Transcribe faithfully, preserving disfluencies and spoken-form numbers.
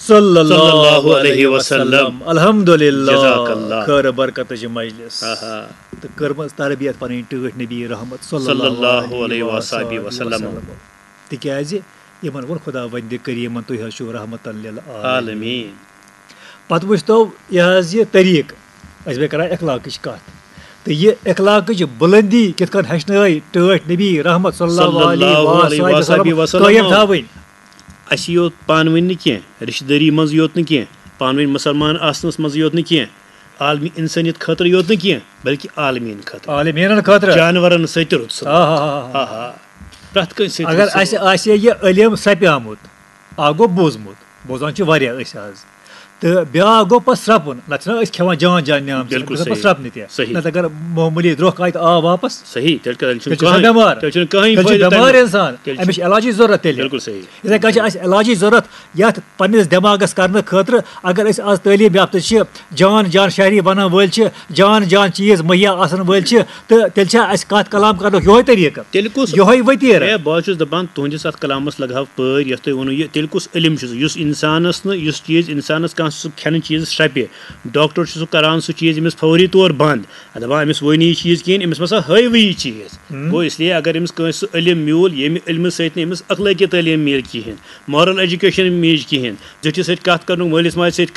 صلی اللہ علیہ وسلم۔ الحمدللہ۔ جزاک اللہ۔ خیر برکتٕچ مجلس۔ آہا۔ تہٕ کٔرمٕژ تربیت پنٕنۍ ٹٲٹھۍ نبی رحمت صلی صلی اللہ اللہ علیہ علیہ وآلہ وصحبہ وسلم۔ وسلم۔ تِکیازِ یِمن ووٚن خداوندِ کریمن، تُہۍ حظ چھِو رحمتن للعالمین۔ عالمین۔ پتہٕ وٕچھتو یہِ حظ یہِ طریٖقہٕ، أسۍ بیٚیہِ کران اخلاقٕچ کتھ۔ تہٕ یہِ اخلاقٕچ بُلندی کِتھ کٔنۍ ہیٚچھنٲے ٹٲٹھۍ نبی رحمت صلی اللہ صلی علیہ اللہ علیہ وآلہ وصحبہ وسلم وسلم۔ قٲیِم تھاوٕنۍ۔ اَسہِ یوت پانہٕ ؤنۍ نہٕ کینٛہہ، رشتہٕ دٲری منٛز یوت نہٕ کینٛہہ، پانہٕ ؤنۍ مُسلمان آسنَس منٛز یوت نہٕ کینٛہہ، عالمی اِنسٲنیت خٲطرٕ یوت نہٕ کینٛہہ، بلکہِ عالمیٖن خٲطرٕ، عالمیٖنن خٲطرٕ۔ جانورن سۭتۍ تہِ رُت سُہ۔ آ ہا ہا ہا۔ آہا۔ پرٛٮ۪تھ کٲنٛسہِ سۭتۍ اگر رُت سُہ۔ اسہِ آسہِ ہے یہِ علم سپیامُت، اکھ گوٚو بوٗزمُت، بوزان چھِ واریاہ أسۍ آز، تہٕ بیٛاکھ گوٚو پتہٕ سرٛپُن، نتہٕ چھِنہ أسۍ کھٮ۪وان جان جان نعمت، بِلکُل أسۍ گژھان پتہٕ صحیح۔ سرٛپنہِ تہِ۔ صحیح۔ نتہٕ اگر معموٗلی درٛوکھ آیہِ تہٕ آو واپس، صحیح، تیٚلہِ کَتہِ، تیٚلہِ چھُنہٕ تیٚلہِ چھُ آسان کٕہٕنۍ، بٮ۪مار۔ تیٚلہِ چھُنہٕ کٕہٕنۍ تیٚلہِ چھُ فٲیدٕ بٮ۪مار تَمیُک۔ اِنسان، تیٚلہِ چھُ أمِس چھِ علاجٕچ ضروٗرت تیٚلہِ۔ بِلکُل صحیح۔ یِتھَے کٔنۍ چھِ اَسہِ علاجٕچ ضروٗرت یَتھ پنٛنِس دٮ۪ماغَس کَرنہٕ خٲطرٕ۔ اگر أسۍ آز تعلیٖم یافتہٕ چھِ، جان جان شہری بَنَن وٲلۍ چھِ، جان جان چیٖز مُہیا آسَن وٲلۍ چھِ، تہٕ تیٚلہِ چھا اَسہِ کَتھ کلام کَرنُک یِہوٚے طریٖقہٕ؟ تیٚلہِ کُس یِہوٚے ؤتیٖرٕ۔ ہے، بہٕ حظ چھُس دَپان، تُہٕنٛدِس اَتھ کلامَس لَگہٕ ہاو پٲرۍ، یَتھ تۄہہِ ووٚنوُ یہِ، تیٚلہِ کُس علم چھُ سُہ، یُس اِنسانَس نہٕ، یُس چیٖز اِنسانَس کانٛہہ سُہ کھٮ۪نہٕ چیٖز شرٛپہِ، ڈاکٹر چھُ سُہ کَران، سُہ چیٖز أمِس فوری طور بنٛد، دَپان، أمِس ؤنۍ نہٕ یہِ چیٖز کِہیٖنۍ، أمِس مہ سا ہٲوٕے یہِ چیٖز۔ ہُم۔ گوٚو، اس لیے اگر أمِس کٲنٛسہِ سُہ علم میوٗل، ییٚمہِ علمہٕ سۭتۍ نہٕ أمِس اخلٲقی تعلیٖم میلہِ کِہیٖنۍ، مارل ایجوکیشن میج کِہیٖنۍ، زِٹھِس سۭتۍ کَتھ کَرنُک، مٲلِس ماجہِ سۭتۍ